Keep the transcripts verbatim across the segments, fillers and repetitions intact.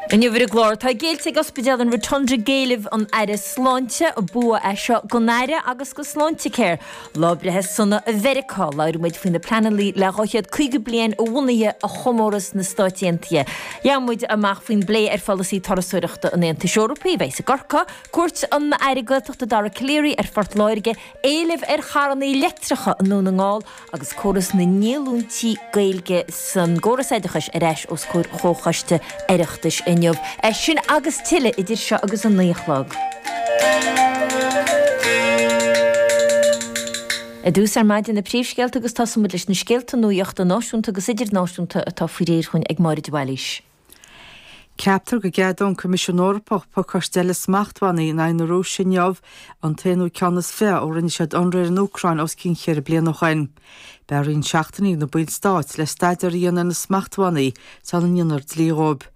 Inniu ar an gclár, tá géillte ag Ospidéal an Rotunda d'éilimh an Aire Sláinte, bua é seo don Aire agus do Sláintecare. Lá breithe sona i Mheiriceá, labhróidh muid faoi na pleananna le dhá chéad caoga bliain a bhunaithe a chomóradh sna Stáit Aontaithe. Gheobhaidh muid amach faoin bplé ar pholasaí turasóireachta an Aontais Eorpaigh a bheidh i gCorcaigh, cuairt an Aire Gaeltachta Dara Calleary ar Phort Láirge, éileamh ar charranna leictreacha i nDún na nGall agus córas na ndíolúintí Gaeilge san gcóras oideachais ar ais os comhair Chomhchoiste Oireachtais inniu. É sin agus tuilleadh idir seo agus a naoi a chlog. I dtús ar maidin na príomhscéalta agus tosóidh muid leis na scéalta nuachta náisiúnta agus idirnáisiúnta atá faoi réir chugainn ag Máire de Bhailís. Ceaptar go gceadóidh an Coimisiún Eorpach pacáiste eile smachtbhannaí in aghaidh na Rúise inniu, an t-aonú ceann is fiche ó rinne siad ionradh ar an Úcráin os cionn cheithre bliana ó shin. Beidh roinnt seachtainí ag na ballstáit le staidéar a dhéanamh ar na smachtbhannaí sula ndéanfar dlí dhóibh.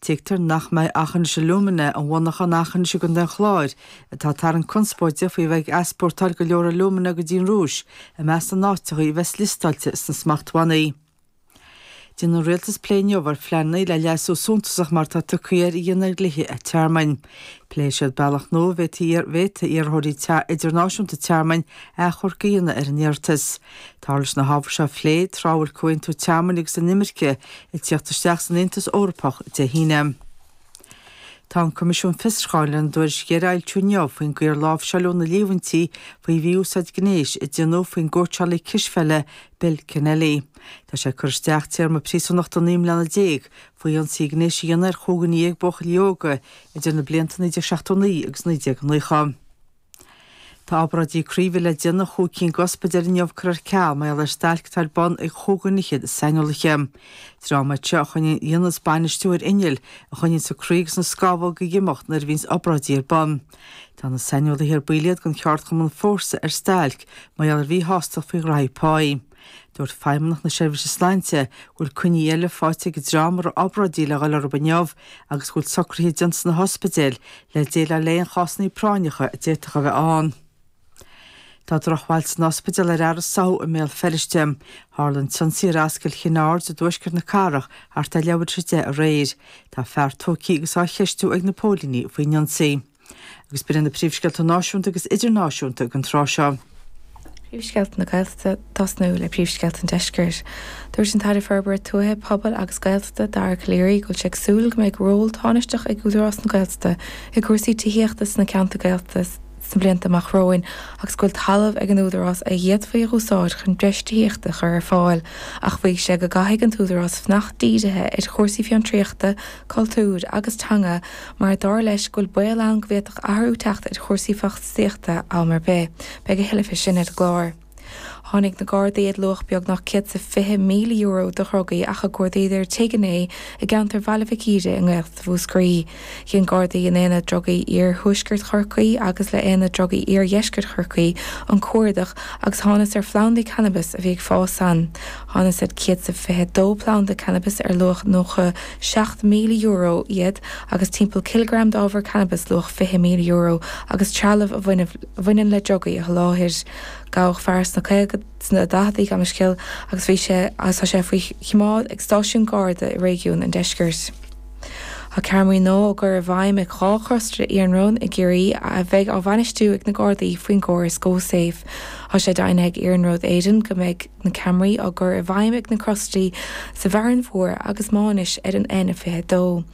Tuigtear nach mbeidh Aughinish Alumina, an mhonarcha in Aughinish i gContae an Chláir, atá ag tarraingt conspóide faoi bheith ag easpórtáil go leor alúmana go dtí an Rúis, i measc na n-áiteacha a bheas liostáilte sna smachtbhannaí. Déanfaidh an Rialtas plé inniu ar phleananna le leasú suntasach mar atá tugtha air a dhéanamh ar dhlíthe tearmainn. Pléifidh siad bealach nua a bhféadfaidh iarrthóirí idirnáisiúnta tearmainn achomharc a dhéanamh ar a n-iarratas. Táthar leis na hábhair seo a phlé tráth a bhfuil Comhaontú Tearmainn agus Inimirce ag tíocht isteach san Aontas Eorpach Dé hAoine. Tá an Coimisiún Fiosrúcháin lena dtuairisc dheiridh a fhoilsiú inniu faoin gcaoi ar láimhseáladh na líomhaintí faoi mhí-úsáid gnéis a déanadh faoin gcóitseálaí cispheile Bill Kennelly. Tá sé ag cur isteach téarma príosúnachta naoi mbliana déag faoi ionsaí gnéis a dhéanamh ar chúig dhuine dhéag buachaillí óga idir na blianta naoi déag seachtó naoi agus naoi déag nócha. Tá obráidí croí a bhí le déanamh i chúig cinn d'ospidéil inniu curtha ar ceal mar gheall ar stailc atá ar bun ag chúig dhuine fhichead saineolaithe. Dream iad seo a choinníonn a dhéanas bainistiú ar innill a choinníonns an croí agus na scamhóga ag imeacht nuair a bhíonns obráidí ar bun. Tá na saineolaithe ar baill iad den cheardchumann Fórsa ar stailc mar gheall ar mhíshástacht faoi ghraithí páí. Dúirt Feidhmeannacht na Seirbhíse Sláinte go bhfuil coinní eile faighte ag an dream a raibh obráidí le dhul orthu inniu agus go bhfuil socruithe déanta sna hospidéil le déileáil le aon chásanna práinneacha a d'fhéadfadh a bheith ann. Tá drochbhail san ospidéal ar Fhearas Soho i mBéal Feirste. Tharla an t-ionsaí ar Ascaill Chinn Aird i dtuaisceart na cathrach thart ar leathuair tar éis a deich aréir. Tá fear tógtha agus á cheistiú ag na póilíní faoin ionsaí. Agus b'in iad na príomhscéalta náisiúnta agus idirnáisiúnta don tráth seo. Príomhscéalta na Gaeltachta, tosnú le príomhscéalta an Deiscirt. Dúirt an tAire Forbartha Tuaithe, Pobail agus Gaeltachta, Dara Calleary, go bhfuil sé ag súil go mbeidh ról tánaisteach ag Údarás na Gaeltachta i gcúrsaí tithíochta sna ceantair Gaeltachta sna blianta amach romhainn agus go bhfuil talamh ag an Údarás a d'fhéadfaí a úsáid chun breis tithíochta a chur ar fáil ach mhaígh sé go gcaithfidh an tÚdarás fanacht dírithe ar chúrsaí fiontraíochta, cultúir agus teanga mar dar leis go bhfuil baol ann go bhféadfadh athrú teacht ar chúrsaí fostaíochta am ar bith. Beidh a thuilleadh faoi sin ar an gclár. Tháinig na Gardaí ar luach beagnach céad is fiche míle euro de dhrugaí ach a cuardaíodh tigh inné i gceantar Bhaile Mhic Íre i nGaeltacht Mhúscraí. Dhein Gardaí in Aonad Drugaí Iar-Thuaisceart Chorcaí agus le Aonad Drugaí Iar-Dheisceart Chorcaí an cuardach agus thánas ar phlandaí cannabais a bhí ag fás ann. Thánas ar céad is fiche dó planda cannabais ar luach nócha seacht míle euro iad agus timpeall cileagram d'ábhar cannabais luach fiche míle euro agus trealamh a bhaineann le drugaí a sholáthair. Gabhadh fear sna caoga, sna daicheadaí, gabh mo leithscéal, agus bhí sé agus tá sé faoi choimeád ag stáisiún Garda i réigiún an Deiscirt. Tá ceamaraí nua á gcur i bhfeidhm ag dhá chrostra iarnróin i gCiarraí a bheidh á bhainistiú ag na Gardaí faoin gcóras GoSafe. Tá sé deimhnithe ag Iarnród Éireann go mbeidh na ceamaraí á gcur i bhfeidhm ag na crostraí sa bhFearann Mhór agus Maínis ar an N fiche a dó.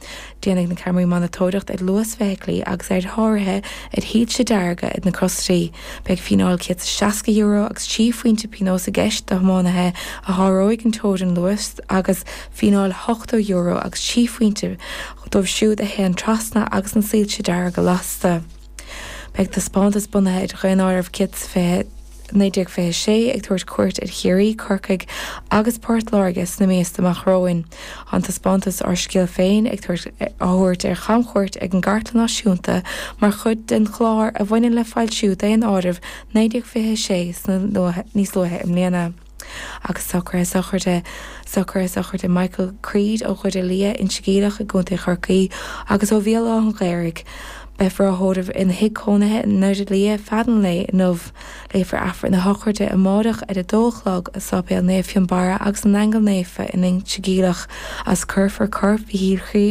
Déanfaidh na ceamaraí monatóireacht ar luas feithiclí agus ar sháruithe ar shoilse dearga ag na crostraí. Beidh fíneáil céad is seasca euro agus trí phointe pionóis i gceist do thiománaithe a sháróidh an teorainn luais agus fíneáil ochtó euro agus trí phointe dóibh siúd a théann trasna agus na soilse dearga lasta. Beidh taispeántas bunaithe ar Dhaonáireamh céad is fiche naoi déag fiche a sé ag tabhairt cuairt ar Chiarraí, Corcaigh agus Port Láirge sna míosa amach romhainn. Tá an taispeántas Ár Scéal Féin ag tabhairt á thabhairt ar chamchuairt ag an gCartlann Náisiúnta mar chuid den chlár a bhaineann le foilsiú Daonáireamh naoi déag fiche a sé sna níos luaithe i mbliana. Agus socruithe sochraide socruithe sochraide Michael Creed ó Dhoire Liath, Inse Geimhleach i gContae Chorcaí agus ó Bhéal Átha an Ghaorthaidh. Beifear á thórramh ina thigh cónaithe i nDoire Liath feadh an lae inniu. Léifear Aifreann na sochraide amárach ar a dó a chlog i Sáipéal Naomh Fionnbarra agus na nAingeal Naofa in Inse Geimhleach agus cuirfear corp Mhichíl